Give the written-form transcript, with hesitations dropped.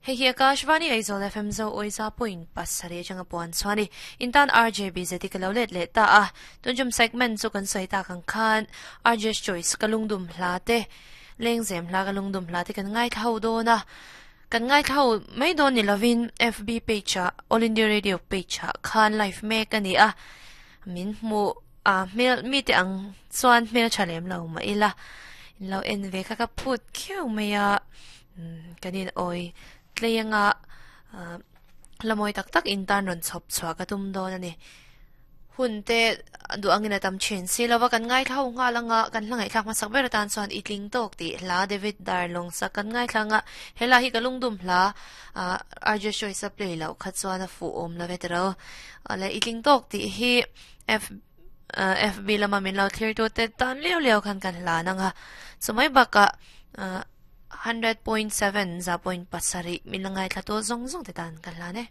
Hei hi Akashvani Aizawl FM Zo Awiza point pasarih atanga puan chuan i intan RJ BZT ka lo let leh ta a. Tunjum segment chu kan sawi tak ang khan RJ's Choice ka lungdum hla te, lengzem hla ka lungdum hla te kan ngaithla ho dawn a. Kan ngaithla ho mai dawn ni lovin FB page ah All India Radio page ah khan live mek a ni a. Min hmuh a hmel mite ang chuan hmel tha lem lo mah ila in lo en ve kha ka phut khiau mai a kan in awi tlei anga la mawi tak tak in tan rawn chhawp chhuah ka tum dawn a ni hun te duh angin a tam thin si lova kan ngaithla ho nghal anga kan hla ngaihthlak hmasak ber atan chuan i tling tawk tih hla David Darlong sak kan ngaithla anga helai hi ka lungdum hla RJ Choice a play loh kha chuan a fuh awm lo ve tiro le i tling tawk tih hi F FB lama min lo thlir tu te tan liau liau khan kan hlan ang a chumai bakah 100.7 za point pasarih min la ngaithla tu zawng zawng te tan kan hlan e.